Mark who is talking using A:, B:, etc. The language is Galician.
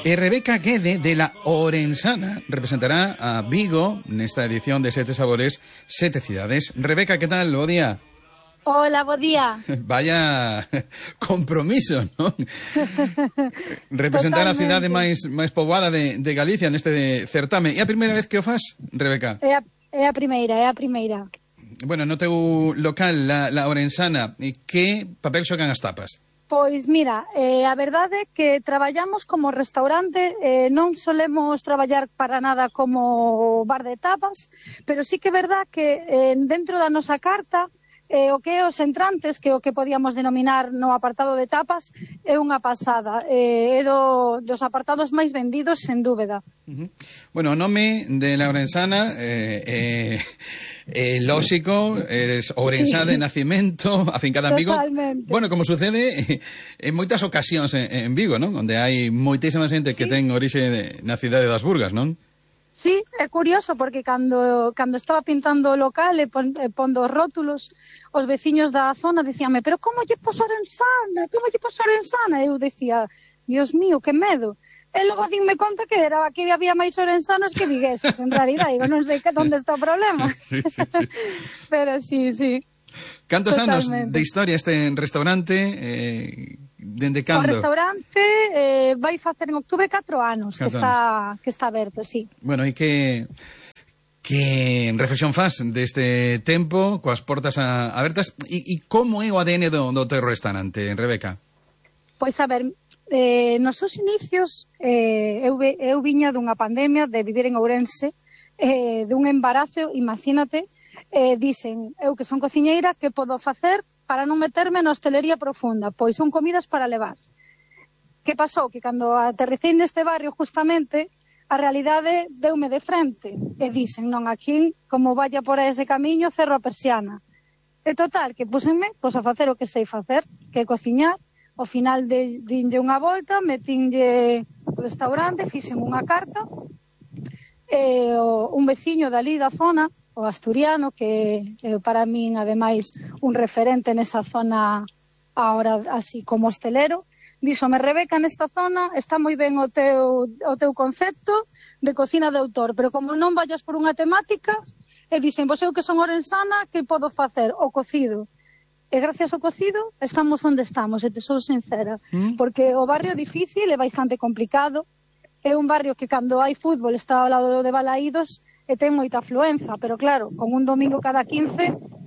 A: Rebeca Guede, de la Orensana, representará a Vigo nesta edición de Sete Sabores, Sete Cidades. Rebeca, que tal? Bo día.
B: Hola, bo día.
A: Vaya compromiso, non? Representar
B: Totalmente.
A: a cidade máis poboada de Galicia neste certame. É a primeira vez que o fas, Rebeca?
B: É a primeira.
A: Bueno, no teu local, la Orensana, que papel xogan as tapas?
B: Pois mira, a verdade é que traballamos como restaurante, non solemos traballar para nada como bar de tapas, pero sí que é verdad que dentro da nosa carta, o que é os entrantes, que é o que podíamos denominar no apartado de tapas, é unha pasada, é dos apartados máis vendidos, sen dúbida.
A: Bueno, o nome de la Orensana lóxico, eres ourensá de nacimento, afincada en Vigo.
B: Totalmente.
A: Bueno, como sucede en moitas ocasións en Vigo, non? Onde hai moitísima xente que ten orixe na cidade das Burgas, non?
B: Sí, é curioso porque cando estaba pintando o local e pondo os rótulos, os veciños da zona dicíanme, pero como lle pos Orensana? Como lle pos Orensana? E eu dicía, Dios mío, que medo. E logo dinme conta que había máis orensanos que vigueses, en realidad. Digo, non sei onde está o problema.
A: Sí.
B: Pero sí.
A: Cantos anos
B: Totalmente.
A: de historia este restaurante? Dende cando?
B: O restaurante vai facer en outubro 4 anos que está aberto, sí.
A: Bueno, e que reflexión faz deste tempo coas portas abertas e como é o ADN do teu restaurante, Rebeca?
B: Pois a ver, nos seus inicios eu viña dunha pandemia de vivir en Ourense, dun embarazo, imagínate, dicen, eu que son cociñeira, que podo facer para non meterme na hostelería profunda? Pois son comidas para levar. Que pasou? Que cando aterricei neste barrio justamente, a realidade deume de frente e dicen, non, aquí, como vaya por ese camiño, cerro a persiana. E total, que pusenme a facer o que sei facer, que é cociñar. Ao final dinlle unha volta, metinlle o restaurante, fixen unha carta, un veciño dali da zona, o asturiano, que para min, ademais, un referente nesa zona ahora así como hostelero, díxome, Rebeca, nesta zona está moi ben o teu concepto de cocina de autor, pero como non vayas por unha temática, e dixen, pois eu que son orensana, que podo facer? O cocido. E gracias ao cocido estamos onde estamos, e te sou sincera, porque o barrio é difícil, é bastante complicado, é un barrio que cando hai fútbol está ao lado de Balaídos e ten moita afluenza, pero claro, con un domingo cada 15